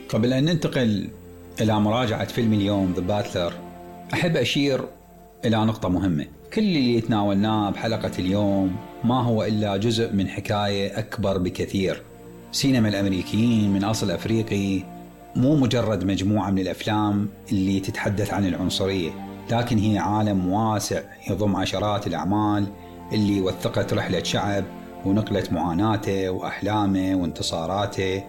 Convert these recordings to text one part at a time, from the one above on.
قبل أن ننتقل إلى مراجعة فيلم اليوم The Butler، أحب أشير إلى نقطة مهمة. كل اللي تناولناه بحلقة اليوم ما هو إلا جزء من حكاية أكبر بكثير. سينما الأمريكيين من أصل أفريقي مو مجرد مجموعة من الأفلام اللي تتحدث عن العنصرية، لكن هي عالم واسع يضم عشرات الأعمال اللي وثقت رحلة شعب ونقلت معاناته وأحلامه وانتصاراته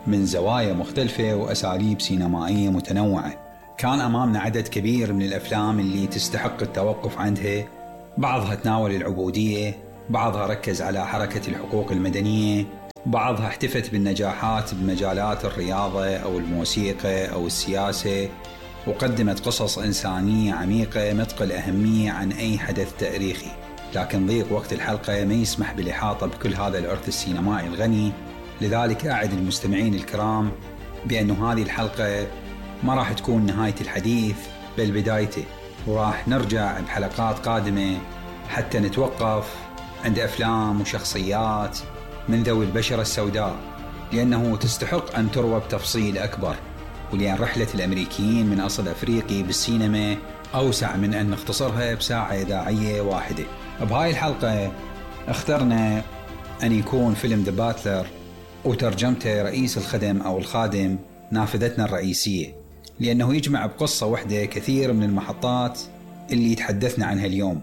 من زوايا مختلفة وأساليب سينمائية متنوعة. كان أمامنا عدد كبير من الأفلام اللي تستحق التوقف عندها، بعضها تناول العبودية، بعضها ركز على حركة الحقوق المدنية، بعضها احتفت بالنجاحات بمجالات الرياضة أو الموسيقى أو السياسة، وقدمت قصص إنسانية عميقة مثقل أهمية عن أي حدث تاريخي. لكن ضيق وقت الحلقة ما يسمح بالإحاطة بكل هذا الإرث السينمائي الغني، لذلك أعد المستمعين الكرام بأن هذه الحلقة ما راح تكون نهاية الحديث بل بدايته، وراح نرجع بحلقات قادمة حتى نتوقف عند أفلام وشخصيات من ذوي البشرة السوداء، لأنه تستحق أن تروى بتفصيل أكبر، ولأن رحلة الأمريكيين من أصل أفريقي بالسينما أوسع من أن نختصرها بساعة إذاعية واحدة. بهاي الحلقة اخترنا أن يكون فيلم The Butler وترجمته رئيس الخدم أو الخادم نافذتنا الرئيسية، لأنه يجمع بقصة واحدة كثير من المحطات اللي تحدثنا عنها اليوم،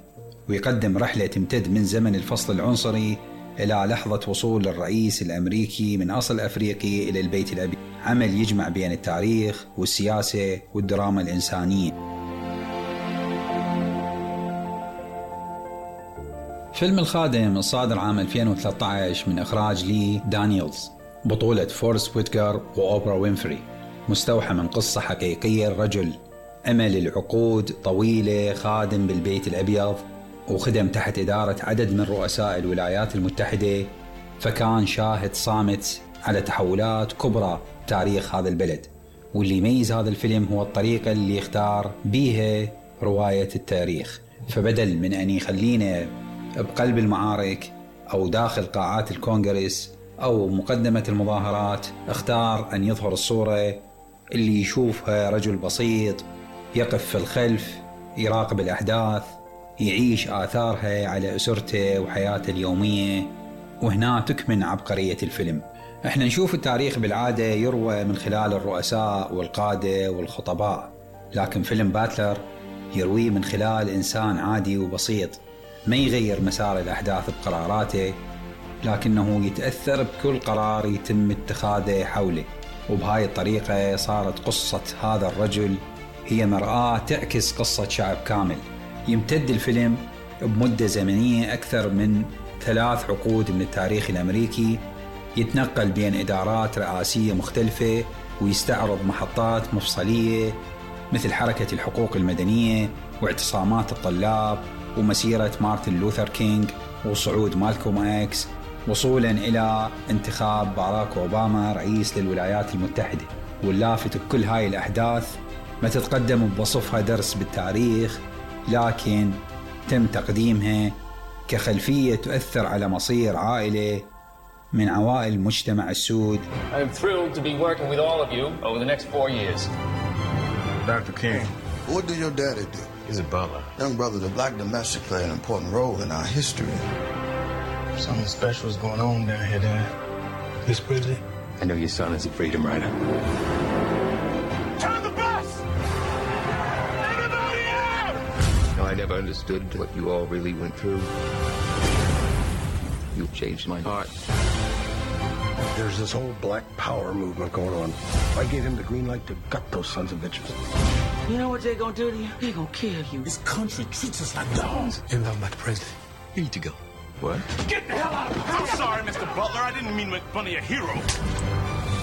ويقدم رحلة تمتد من زمن الفصل العنصري إلى لحظة وصول الرئيس الأمريكي من أصل أفريقي إلى البيت الأبيض. عمل يجمع بين التاريخ والسياسة والدراما الإنسانية. فيلم الخادم الصادر عام 2013 من إخراج لي دانييلز، بطولة فورست ويتكر وأوبرا وينفري، مستوحى من قصة حقيقية. الرجل أمل العقود طويلة خادم بالبيت الأبيض، وخدم تحت إدارة عدد من رؤساء الولايات المتحدة، فكان شاهد صامت على تحولات كبرى تاريخ هذا البلد. واللي يميز هذا الفيلم هو الطريقة اللي اختار بيها رواية التاريخ، فبدل من أن يخلينا بقلب المعارك أو داخل قاعات الكونغرس أو مقدمة المظاهرات، اختار أن يظهر الصورة اللي يشوفها رجل بسيط يقف في الخلف يراقب الأحداث، يعيش آثارها على أسرته وحياته اليومية. وهنا تكمن عبقرية الفيلم. احنا نشوف التاريخ بالعادة يروى من خلال الرؤساء والقادة والخطباء، لكن فيلم باتلر يرويه من خلال إنسان عادي وبسيط ما يغير مسار الأحداث بقراراته، لكنه يتأثر بكل قرار يتم اتخاذه حوله. وبهاي الطريقة صارت قصة هذا الرجل هي مرآة تعكس قصة شعب كامل. يمتد الفيلم بمدة زمنية أكثر من 3 عقود من التاريخ الأمريكي، يتنقل بين إدارات رئاسية مختلفة، ويستعرض محطات مفصلية مثل حركة الحقوق المدنية واعتصامات الطلاب ومسيرة مارتن لوثر كينغ وصعود مالكوم إكس، وصولا إلى انتخاب باراك أوباما رئيس للولايات المتحدة. واللافت بكل هاي الأحداث ما تتقدم بوصفها درس بالتاريخ، لكن تم تقديمها كخلفية تؤثر على مصير عائلة من عوائل المجتمع السود. I'm thrilled to be working with all of you over the next 4 years. Dr. King. What did your daddy do? He's a butler. Young brother, the black domestic played an important role in our history. Something special is going on down here, Dad. Miss Bridget? I know your son is a freedom rider. Turn the bus! Everybody out! No, I never understood what you all really went through. You've changed my heart. There's this whole black power movement going on. I gave him the green light to gut those sons of bitches. You know what they're gonna do to you? They're gonna kill you. This country treats us like dogs. And I'm not the president. You need to go. What? Get the hell out of here! I'm sorry, Mr. Butler. I didn't mean to make fun of your hero.